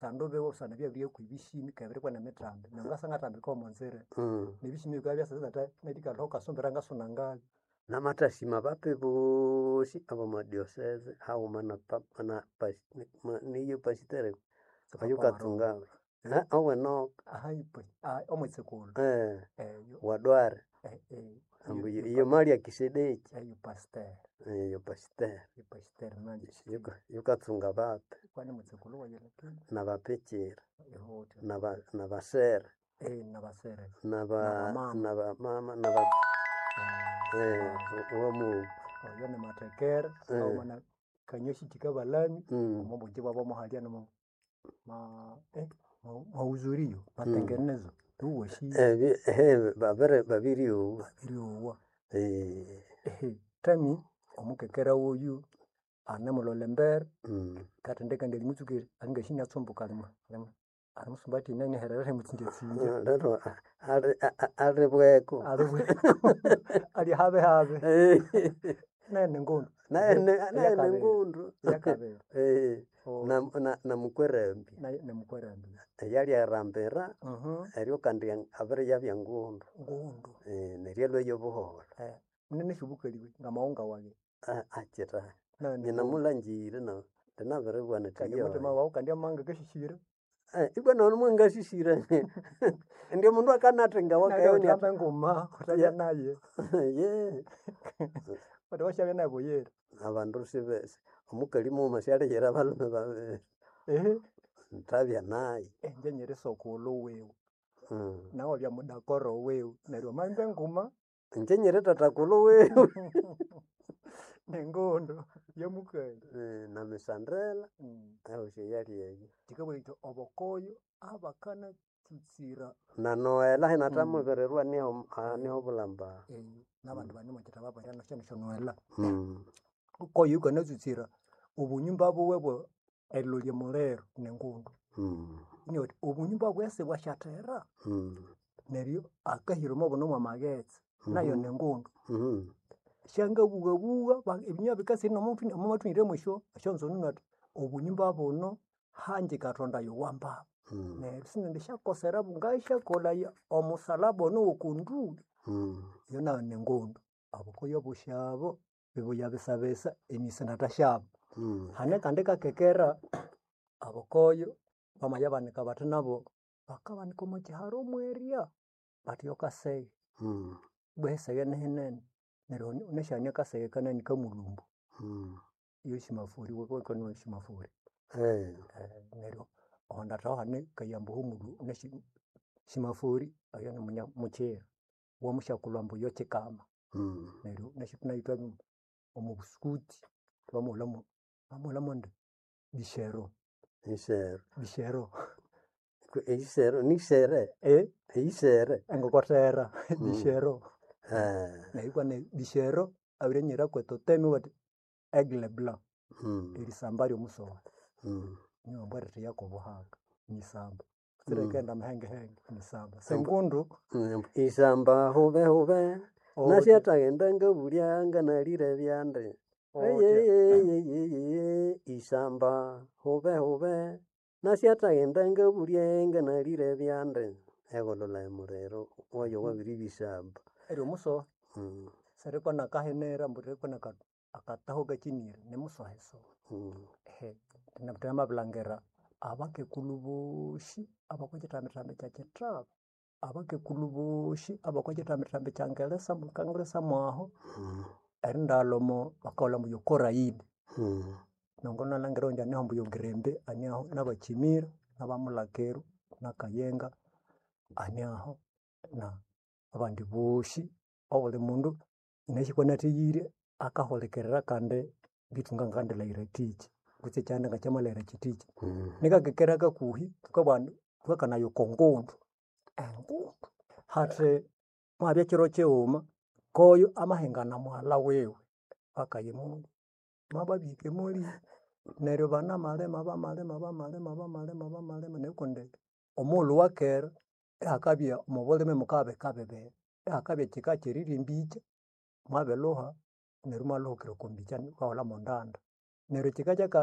Ebisando biwe busana byabirihya kw'ebĩshĩmĩ kebiri kwenemitambi. Neryo ngasa ngatambika omo nzira. N'ebĩshĩmĩ bikabya byasasatha nerikalha aho kasumbira ngasuna ngabyo. Namathasima abapi boosi ab'omo diocese haghuma na papa na niye pastor oyukatunga owenoka Omwitsikulu wadware ambu iyo mali ya kisedeki eyo pastor. Iyo pastor Eyo pastor yukatsunga abapi kwani mwitsikulu wayi lakini nabapikira ihutya nabasere nabasere nabamama owomughuma oyo ni mathekere haghuma na kanyoshi kikabalami omo bugyi bwabo muhalya nomo mahudhurio matengenezo iwowasire. Babiryowa. Babiryowa. Tami omukekera woyu anemulolha embere katindi kandi erimutsuka angasi inatsumbuka erimusumba athi iniaherera erimutsinjatsinja. Lero alibweko. Alibweko ali habihabi. Nayo ningundu. Nayo ningundu. Eyakabiri. Namukwerambi. Nayo nimukwerambi. Eyaliarambira eryo kandi abiriyabya ngundu. Ngundu. Neryo alhweyo buholho. Munene syobukaliwe ngamaghunga wayi. Akira. Nyinamulangire nabiribugha nethi Kandi omuthima wawu kandi amanga akasisire. Ibwa neryo mwangasisire. Indi omundu akanathinga Neryo wuthambe nguma wuthabya naye. Kundi wasyabya naye buyira. Abandu sibe omukali mughuma syaliyira abalhume babiri. Thabya naye. Ingye nyiri sokulhu wiwe. Nawe iwabya mudakoro wiwe neryo wamahimba enguma. Ingye nyiri thathakulhu wiwe. Ningundu yomukali. Namisandela ehosi eyali eyo. Thikabugha thuthi obukoyo abakanatsutsira. Na Noela inathamubirirwa niho bulamba. Nabandi banemukyitaba baria nesyo Noela. Koyo yukanatsutsira obunyumba buwe erilolya omuliro ningundu. Inabugha athi obunyumba bwesi bwasyathera. Neryo akahira omo buno mwamaghetse nayo ningundu. Syangabughabugha ebinywa bikasira omo mwesyo esyonzununu athi obunyumba buno hangye kathonda yowambaba. Neryo sinendisyakoserabo ngasyakolhaya omusalaba ono wokonduli. Eyo nayo ningundu. Obukoyo obosi abo bibuya bisabisa emisi inathasyaba. Hane akandi kakekera obukoyo bamayabanika bathi nabo bakabanika omo kyiharo mwerya bathi yokaseghe. Ibwa eseghe nihinene neryo wunasi hane akaseghe kanani kamulumbu. Yoshimafuri shimafuri. Neryo ohondathaho hane kayambo homulhu wunasi shimafuri oyo nimunya mukyira wamusyakulhu ambu yokyikama. Neryo wunasi nayu ithwabya omo busukuti thwamughulhamu twamughulhamonde bishero. Isere. Bishero. Isere nisere? Isere. Engokothera bishero. Neryo ikwa bishero abirinyira kwetotemi bathi aigle blanc. Erisamba ryomusowe. Niwambwa eritheya kobuhaka nisamba. Sirikaghenda mahengehenge nisamba. Sengundu. Isamba hube hube nasyathagenda ngabulya nganalire byandi. Isamba hube hube nasyathagenda ngabulya nganalire byandi. Egholholha emuliro oyo wabiribya isamba. Eryo musohe. Siriko nakahinira ambu ririko akataho kakyinire nimusohesohe. Thwamabirilhangira abakekulhu boosi abokwakyitambithambi kyekyithaba, abakekulhu boosi abokwakyitambithambi kya ngelesa kangelesa mwahu, erindaghalha omo bakahulha ambu yokoraidi. Nongo inalhangira owundi aneho ambu yogrembe aneho nabakyimira, nabamulhakiru, nakayenga aneaho na abandi boosi obuli mundu inasi kwanatheghire akahulikirira kandi betu ngangandilaghira thiki kutse ekyanda ngakyamalhaghira kyithikyi. Nikakekera kakuhi thukabugha indi thukakanaya oko ngundu, engundu hathi muhabya kyiro kyighuma koyo amahingana mughalha wiwe akaya emoli, mwababihika emoli neryo banamalima bamalima bamalima bamalima bamalima neryo kundi omughulhu wakera ihakabya omobulime mukabya bika bibiri. Ihakabya ekyika kyerirya embikya mwabilhuha neryo imwalhuhukira oko mbikya ibahulha mwendanda. Neryo ekyika kyaka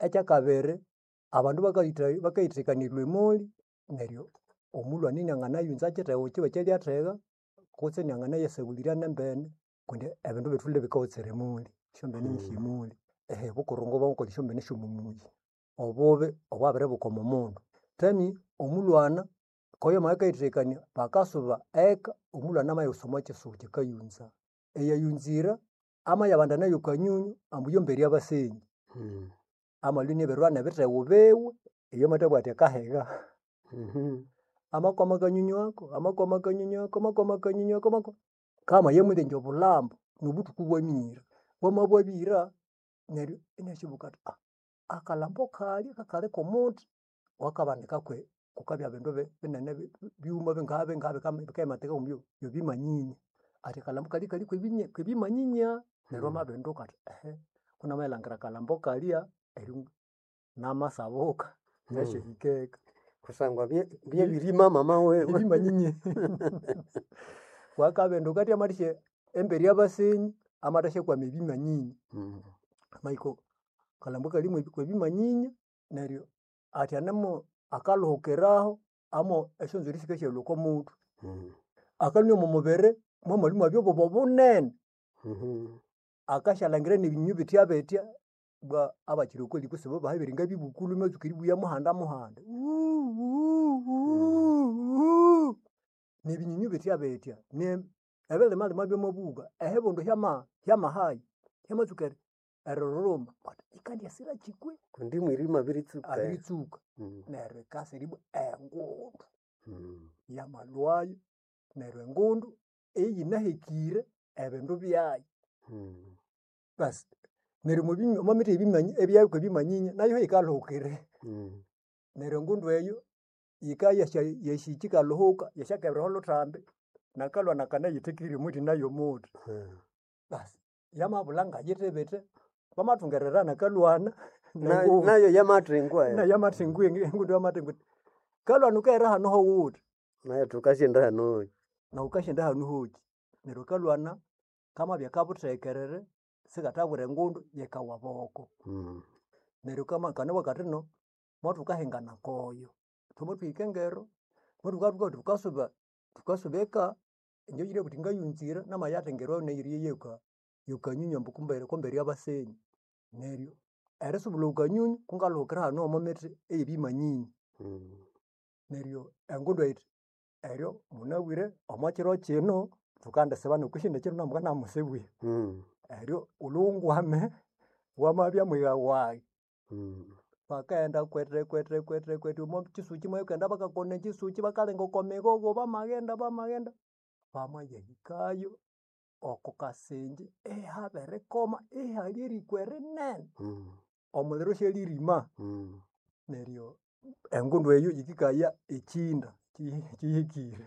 ekyakabiri. Abandu bakayithekakanirwa emoli neryo omulhwani inianganayunza kyithego kyiwe ekyalyathega kutse inianganayasaghulirya nembene kundi ebindu bitholere ibikawotsera emoli, esyombene nisyemoli. Obukurungu bwamakolha esyombene syomwamuyi. Obubi obwabiribuka omo mundu. Thami omulhwana koyo amabya akayithekania bakasuba eka omulhwana amayawusa omo kyisuki akayunza. Eyayunzira amayabandana yokanyunyu ambu yo mbere abasenyi. Amalwa iniabirilhwa nebithego biwe iyo amathabugha athi akahiga. Amakwama akanyunyu ako, amakwama akanyunyu ako, amakwama akanyunyu ako, kamayamalengya obulhambo nobuthuku ibwamira. Bwamabwabira neryo inasyabuka athi akalhambo kalya kakali komuthi wakabanika kwe kukabya bindu binene byuma bingaha bingaha bikayimatika ngoko byebimanyinya. Athi akalhambo kalya kali kwebimanyinya. Neryo amabinduka athi kunamayilangira akalhambo kalya neryo namasabuka ngasyahika eka. Kusangwa byabirima mama wiwe. Ebimanyinya. Wakabinduka athi amathasya embere yabasenyi amathasyakwama ebimanyinya. Amahika akalhambo kali kwebimanyinya neryo athi anemo akalhuhukiraho amo esyonzwiri sikasyalhwa oko muthwe. Akalhwa omo mubiri mwamalhwa imwabya obuba bunene. Akasyalangira nebinyunyu bitya bitya bwa abakyirokoli kusibo bahabere ngabibukulu imatsuka eribugha muhanda muhanda nebinyunyu bitya bitya ne ebilima lima byamabugha ehibundu hyamahayi hyamatsuka eriruruma wuthi yikandyasirakyi kwe? Kundi mwirima abiritsuka. Abiritsuka. Neryo yikasa eribwa engundu yamalhwayo neryo engundu eyinahekire ebindu byayo. Basi neryo omo mithi eyabya kwebimanyinya nayo yikaluhukira. Neryo engundu eyo yikaya yasyahika ikalhuhuka yasyakebera olhuthambi nakalhwana kanayithekire omuthi nayo omuthi. Basi yamabulha ngayithibite bamathungerera nakalhwana nengundu. Nayo yamathingwa. Nayo yamathingwa engundu yamathingwa yithi kalhwana wukaghera hano howuthi. Nayo thukasyenda hano hoki. Nawu wukasyenda hanu hoki. Neryo kalhwana kamabya kabuthekerere sikathabwira engundu yikawa boko. Neryo kanabugha kathino mothukahingana koyo. Thwamathwahika engero mothukabya thukasuba thukasuba eka inje oyulye abugha athi ngayunzire namayathengerwa neyiriya yokanyunyu ambu kumbere yabasenyi. Neryo erisubulha okanyunyu kungalhuhukira hano omo mithi eyebimanyinya. Neryo engundu eyo yithi eryo munabwire omo kiro kino thukandisiba nokusyindi kiro namukanabya imusibwire. Eryo wulhwe wungwame wamabya mwigha wayi. Bakaghenda kwete kwete kwete kwete omo kyisuki moghenda bakakona ekyisuki bakalenga oko migogo bamaghenda bamaghenda bamayahikayo oko kasingye ihabirikoma ihali eriko erinene. Omuliro isyalirima. Neryo engundu eyo yikikaya ekyinda kyihikire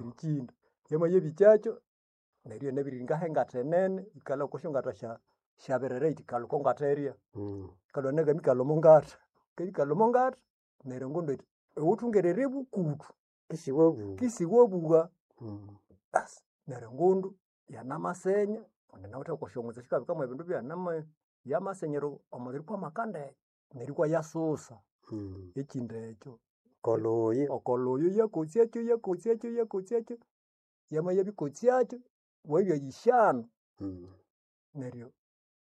ekyinda. Yamayabikyakyo neryo inabiriringaho engatha enene yikalhwa okwa syongatha syabirere yithi kalhwa oko ngatha erya. Kalhwa nakambikalha omo ngatha. Kabya ikalha omo ngatha neryo engundu yithi iwuthungerere bukuthu Isiwabugha. kisiwabugha. Basi neryo engundu yanamasenya kundi inawithe okwasyongutsu esyakabika mwebindu byayi yamasenyera omuliro ikwamaka ndeke neryo ikwayasusa ekyinda ekyo. Kolhuyi. Okolhuyu yakosyakyo yakosyakyo yakosyakyo yamayabikosyakyo bwabya yishanu. Neryo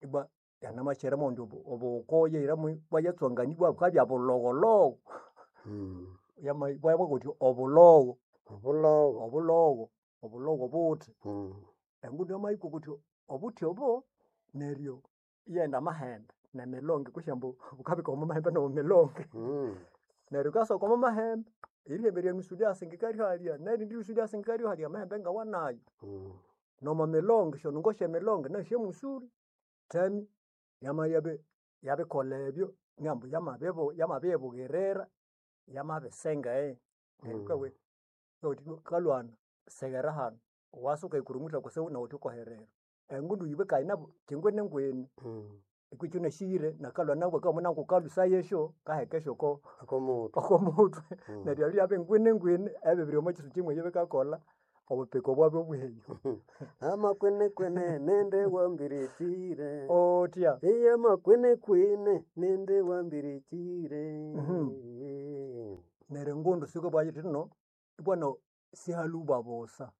ibwa yanamakyira omundi obukoyo ibwaya tswanganibwa bukabya bulhogholhogho. Bwayabugha buthi obulhogho. Obulhogho. Obulhogho, obulhogho obuthi. Engundu yamahika okuthi obuthi obo neryo iyaghenda amahembe nemilonge kwisi ambu bukabikawa omo mahembe nomo milonge. Neryo yikasoka omo mahembe, erihembe erya nusu lyasingika ryohalya nerindi nusu iryasingika ryohalya amahembe ngawanayo. Nomo milonge esyonungo syemilonge nasyo syamusuri. Thami yamayabi yabikolha ebyo ngambu yamabibughirira yamabisenga neryo wukabuwa kalhwana seghera hanu wasa wukayikurumutha kutsibu nawu wuthikoherera. Engundu yibwe kandi kyingwini ngwini. Ikwa ikyunasire nakalhwana nabugha akabughambu ngukalhusayesyo kahekesyo Oko muthwe. oko muthwe. Neryo ebyo byabya ngwini ngwini ebibiri omo kyisuki mweyo bikakolha. Obupiko bwabyo bweyo. Amakwenekwene nende wambirichire. Otya. Iye makwenekwene nende wambirichire. Neryo engundu sikabwayo ithino, ibwano sihaluba busa.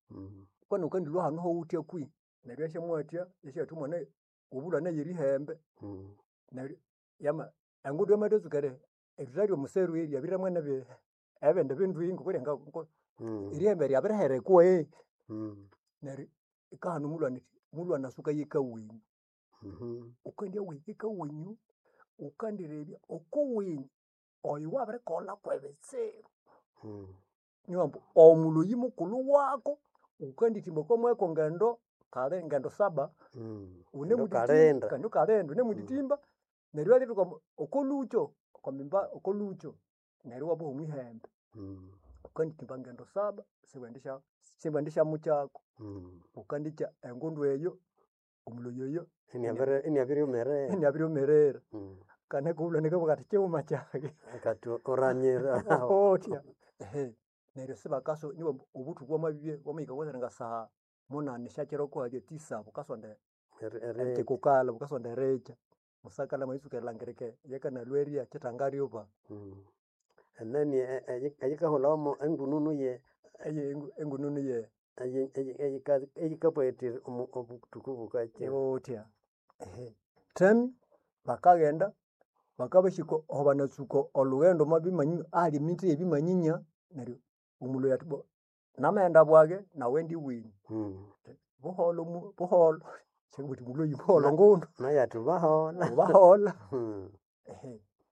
Kwani wukandilhwa hanu hawuthya kwihi? Neryo iyasyamwathya isyatha omwana obulhwa yerihembe. Neryo yama engundu yamathatsuka erithalya omuseru yabirihiramu nebi ebindi bindu ngokulyenga erihembe ryabiriherekwa. Neryo yikahana omulhwana yithi, mulhwana suka yeka wenyu. Wukandya wahika eka wenyu, wukandirebya okowenyu oyo wabirikolha kwebitsibu. Niwambu omuloyi mukulhu wako wukandithimba okwa mweko ngendo kali ngendo saba Endo wunemundithimba kalinda. kandi wukalinda wunemundithimba neryo iwabirituka okolhukyo okwamimba okolhukyo neryo iwaboha omwihembe. Wukandithimba ngendo saba siwendisya siwendisyamukyako. Wukandikya engundu eyo omuloyi oyo Iniabiriumerera. iniabiriumerera. Kandi akabulha akabugha athi kyighuma kyaghe. Akati uranyira. Otya. Neryo sibakasu niwambu obuthuku bwamabibya bwamahika kwasara saha munani esyakyiro kuhalya tisa bukasonda erikukala bukasonda erikya. Musakali amaritsuka erilhangirika eyakanalhwa erya kitangariuba. Enani eyikahulhawa engununu ye Eye engununu ye eyikabugha yithi obuthuku bukakya. Otya. Thami bakaghenda bakabahika aho banatsuka olhughendo omwa bimanyinyi ahali emithi ey'ebimanyinya neryo omuloyi athi bwa namaghenda bwage nawu ghende iwenyu. Buholho buholho sikabugha ambu muloyi buholho ngundu. Nayu athi baholha. Baholha.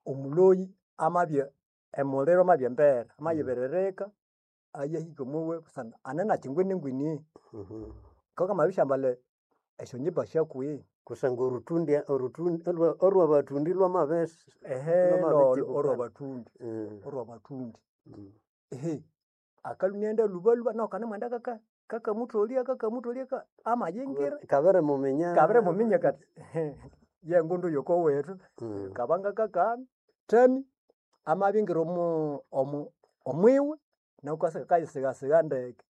Omuloyi amabya emuliro amabya embere amayibiririka ayahika omwiwe busana ane nakyi ngwiningwini. Kokamabirisyambalha esyonjimba syakwihi? Kusangwa orutundi orutundi orwabathundi lwamabisi Olwabathundi olwabathundi. Akalhwa inaghenda lhubalhuba nahu kanemwenda kaka kakamutholya kakamutholya amayingira. Kabirimuminya. Kabirimuminya kati yengundu yokowethu kabanga kakana. Thami amabingira omo omu omwiwe nahu wukasa kakayisighasiga ndeke.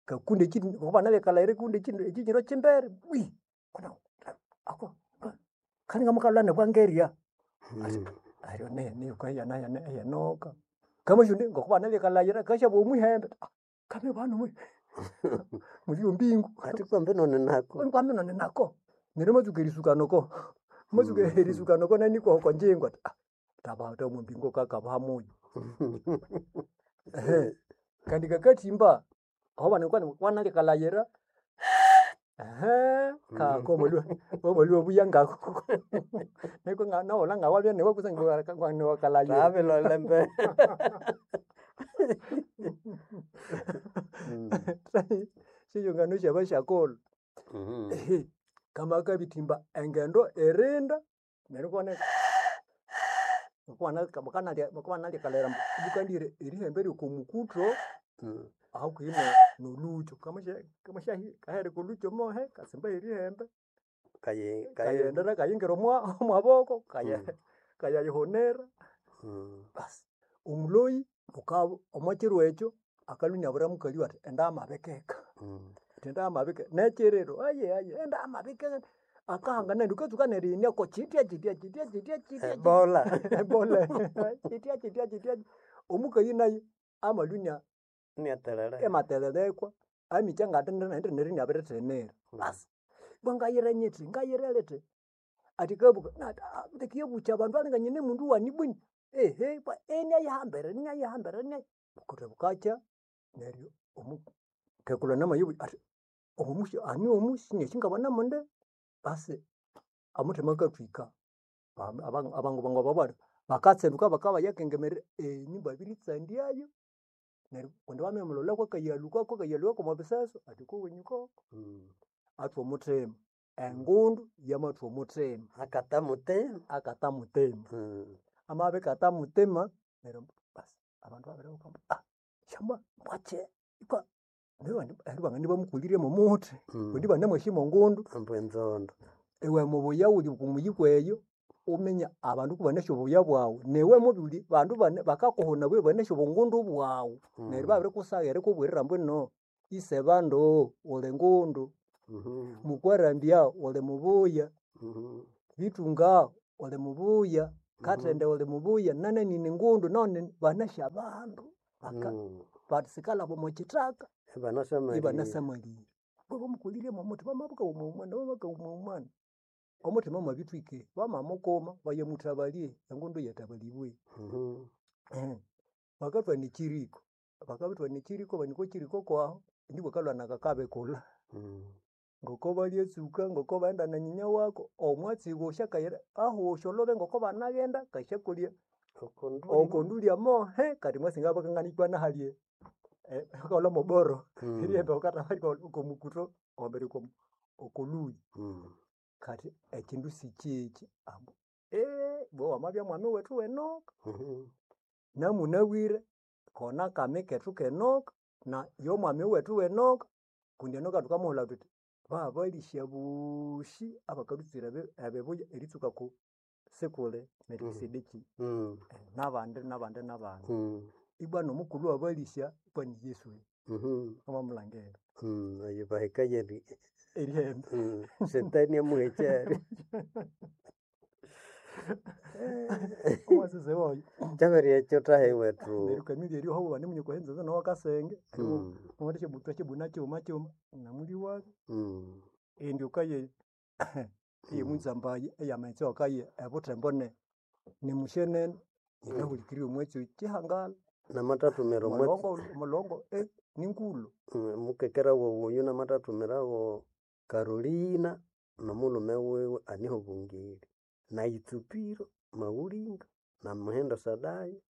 Kakunda ngoku banalyakalhaghira ikundi ekyiniro kyimbere bwi ako kalinga mukalhwa inabwangerya. Neryo niyo wukahaya eyenoka. Kamasi indi ngokubanabikalhaghira akasyaboha omwihembe kamibana muli ombingo. Athi kwambino ninako. Kwamino ninako. Neryo amatsuka erisuka noko, amatsuka erisuka noko nani okonjingo athi taba omombingo kakaba hamuyi. Kandi kakathimba aho banalyakalhaghira kako wamalhwa iwabuya ngako. Nuku nawulha ngawabya niwe kusangwa niwakalhaghira. Thabilolha embere. Syesyongano syabasyakulhu. Kamakabithimba engendo irinda neryo ikuwana ngokubanalyakalaghira ambu ibukandighira erihembe ryoko mukutho hakuhi nolhukyo kahereka olhukyo mohe katsimba herihembe. Kayighendera kayingira omwaboko kayayihunira. Basi omuloyi omwa kiro ekyo akalhwa inabwira mukaliwe athi enda yamabikeka. Athi enda yamabikeka nekyiriro aye aye enda yamabikeka akahangana indi wukatsuka nerighenia ko kyitya kyitya kyitya kyitya kyitya Ebola. Ebola kyitya kyitya kyitya omukali nayu amalhwa inya Iniathelele. imathelelekwa amikya ngathindi neryo inabirithimira. Basi ibwa ngayire nyithi ngayire lithi athi kabuka tekiyabukya abandu balinga nyine mundu wani bwini inayihambira inayihambira bukundi bukakya neryo omukekulhu namayibugha athi omusi ani omu sinyasi ngabanamundi. Basi omuthima akathwika abandu bangu bakatsinduka bakabayakengemerera enyumba abiritsandyayo neryo kundi bamamulholha kwakayalhukako kwakayalhwako omwa biseso athi okowenyu koko. Athwa omuthima, engundu yamathwa omuthima. Akata mutima. Akata mutima. Amabikata mutima neryo basi abandu ibabiribuka ambu syambwa mbwakyi ikwa neryo ibangana ibamukolirye mwomuthi kundi ibanamwasi mwengundu. Ambu enzonda. Iwe mubuya wuli okwa kweyo wuminye abandu kubanasi obubuya bwawu niwe mubuli bandu bakakuhuna bwebanasi obungundu bwawu neryo ibabirikusaghira erikubwirira ambu ino. Isebandu uli ngundu, Mukwarambya uli mubuya, Bitunga uli mubuya, Katende uli mubuya, nanani ni ngundu none banasi abandu baka basikalaba omo kithaka Ibanasamalire. ibanasamalire. Babamukolirye mwomuthima bamabuka wumawumana bamabuka wumawumana. Omuthima mwabithwike bamamukuma bayamuthabalye engundu yathabalibwe. Bakathwana ekyiriko, bakabirithwana ekyiriko banika ekyiriko kwahu indi bwakalhwa nakakabikulha. Ngoko balyatsuka, ngoko baghenda na nyinya wako, omwatsi wosi akayira ahosi olhubi ngoko banaghenda kasyakolya oko ndulya mohe kati mwatsi ngabya ngana hali bakaghulha moboro erihemba bukathabalya oko mukuthu embere oko lhuyi. Kati ekyindu sikyekyi ambu ibwa wamabya mwami wethu w'enoka. Namunabwire kona kami kethu k'enoka na y'omwami wethu w'enoka kundi enoka thukamuhula thuthi babalĩsya boosi abakalhũtsira ebibuya eritsuka ku sikuli Melikisedeki. N'abandi n'abandi n'abandi. Ibwa n'omukulhu w'abalĩsya ibwa ni Yesu wamamulhangira. Oyo bahekaye Erihembe. Setani amuhekyere. Omwasese woyo. Kyabirya kyuthahe wethu. Neryo kamilya eryo hau banemunywa okwa nzanza nowakasenge thwasyabuna kyuma kyuma namuliwabyo. Indi wukaye eyemunzambaye eyamaghetse awakaye ebuthembo ne nimusyenene yinahulikirire omwatsi oyo kyihangala. Namatathumirwa omwatsi Omulongo omulongo ningulho. Mukekera wawu oyu namatathumiragho Carolina nomulhume wiwe aniho Bungiri, na Itsupiro Mawulinga na Muhindo Sadaya,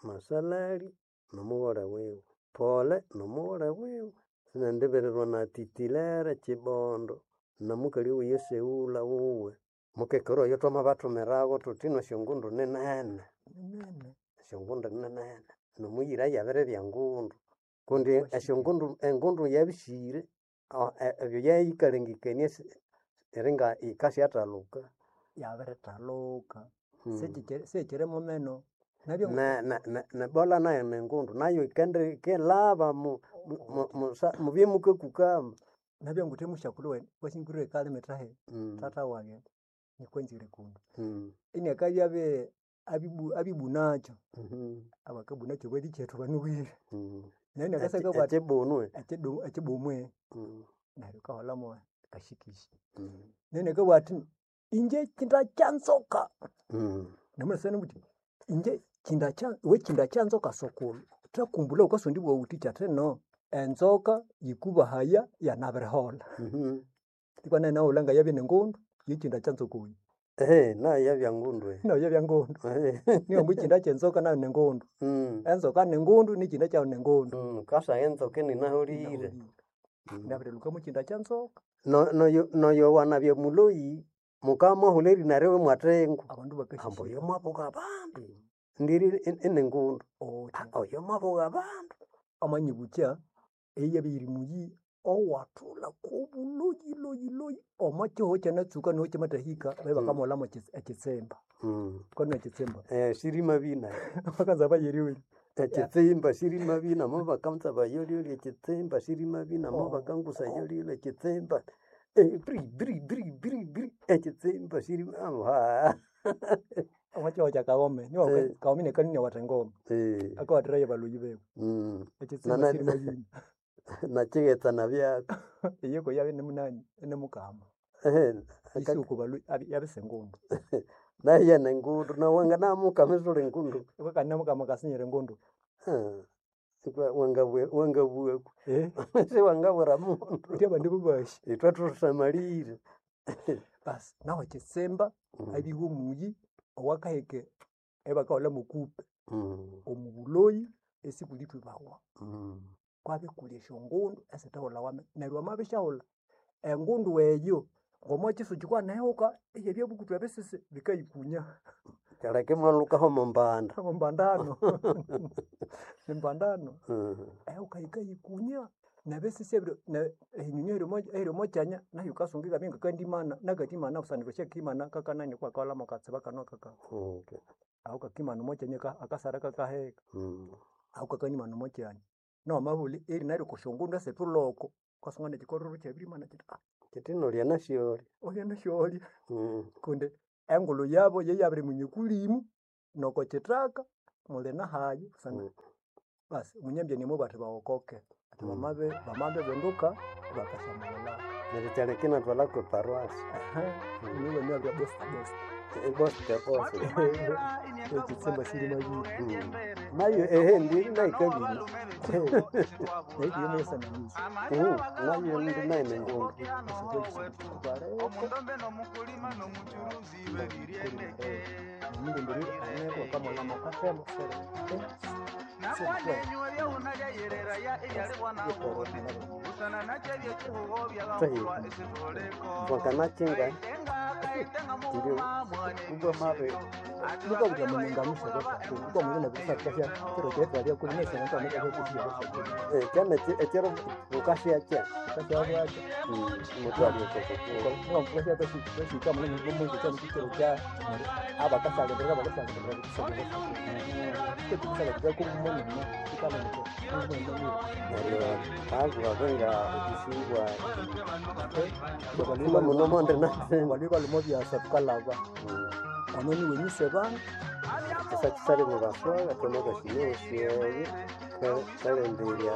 Masalali nomugholhe wiwe, Pole nomugholhe wiwe. Sinendibirirwa na Titilere Kibondo nomukali wiwe Seula wuwe. Mukekera oyo twamabathumiragho thuthi ino esyongundu ninene. Ninene. Esyongundu ninene nomuyira yabiribya ngundu kundi esyongundu engundu yabisihire ebyo yayikalengekania eringa yikasyathaluka. Yabirithaluka. Sikyiri mumeno. Nabyo Ne bola nayo ningundu nayo yikendilhaba mubye mukakukama. Nabyo nguthe musyakulhu wayi kwasi ngwire ekalimi thahi thatha wage nikwanzire kundu. Iniakabya abibu abibunakyo, abakabunakyo balikyethu banobwire. Nayo iniakasya akabugha athi Ekyibunu ekyibumwe neryo wukaholamo kashikishi. Nayo iniakabugha athi ingye kyinda kyanzoka. Namunasana muthi ingye kyinda kya iwe kyinda kyanzoka sukulhu thakumbulha wukasondibugha wuthi athino enzoka yikubahaya yanabiriholha. Nikwa nayo inawulha ngayabya ningundu yekyinda kyanzoka oyu. Nayo yabya ngundu. Nayo yabya ngundu. Niwambu ekyinda kyenzoka nayo ningundu. Enzoka ningundu nekyinda kyayo ningundu. Wukasagha enzoka ininaholire. Inabirilhuka mukyinda kyanzoka. Noyo wanabya muloyi mukamwahulha erina riwe imwathengu. Abandu Ambu bakasisya. oyo mwabuga abandu ndiri iningundu. Oyo mwabuga abandu. Amanyibukya eyabya yiri muyi owathulha kobuloyi loyi loyi omo kihugho kyanatsuka niho kyamathahika babya bakamughulhamu ekyitsimba. Wukaminya ekyitsimba? Sirima bina. Bakanza bayeriolya. Ekyitsimba sirima bina mobakanza bayolyoly ekyitsimba sirima bina mobakangusa yolyoly ekyitsimba biri biri biri biri biri ekyitsimba sirima Omo kihugho kya Kaghome niwa Kaghome niakanini awatha engoma. Akawathirayo abaloyi biwe. Ekyitsimba sirima bina. Nakighetse nabyaka. Iyo yabya inimunani inimukama. Isuku baloyi yabisa engundu. Nayo yenengundu nawanganamukama isuli ngundu. Kandi namukama akasinyira engundu. Wangabughaku siwangabwira mundu. Wuthi abandi bobasi. Ithwe thusamalire. Basi nahu ekyitsimba abiwe omuyi owakaheka eyabakahulha mokupe. Omubuloyi esikulithwibawa. Kwabya ikuli esyongundu esithehulhawa neryo wamabisyaghulha engundu eyo ngomokisuki kyikanaihuka iyabya bukutu ebisisi bikayikunya. Kyaleka imwalhukaho omombanda. Omombandano. Nimbandano. Ehuka yikayikunya nebisisi ebiri ehinyonyo eyiri omokyanya nayu wukasunga ikabya ngakandimana nakathimana busana iwasyathimana kakanani kubakahulha mwakatsiba kano kaka. Aho kakimana omokyanya akasara kakaheka. Aho kakanimana omokyanya. Nomabuli eri naryo kusyongundu esithuloko ukasanga nekikorero kyabirimana kiti ah Kiti nolya nasyolya. Olya nasyolya kundi engulhu yabo yeyabiriminya okulimu noko kithaka muli nahayi kusangwa basi munyambya nimwe athi bawokoke athi bamabi bamabibinduka ibakasyamughulha. Neryo kyaleka inathwalha kwe paroasi. Niwe nabya bosta bosta. Bosta bosta. Ekitsimba siri mabiri. Nayo ehe ndiri naikabiri. Nayo yesananizi. Nayo ndi nayo nengundu. Omulindiri aneko akamulha makathemu sere. Wakanakinga ndio kubwa mabe Lukabya mulinganisha kuba mulina bisakasya kiro kyetwalya kuli nesya nto ameka kusiya. Kyana ekiro ukashyakya Ukashyabwakya. mutwalya okoko. Ukashyakasya kashika mulina mumungu kyana kiro kya abakasalindira bakasalindira kusalindira. Kusalindira kumunene ikalindira. Neryo agwabenga obusingwa kuma muno monde na Bali balumo byasa tukalaba. Ono niwe nyisebana. Kisakisali mubaswaga twamabashinesyeye kalenderya.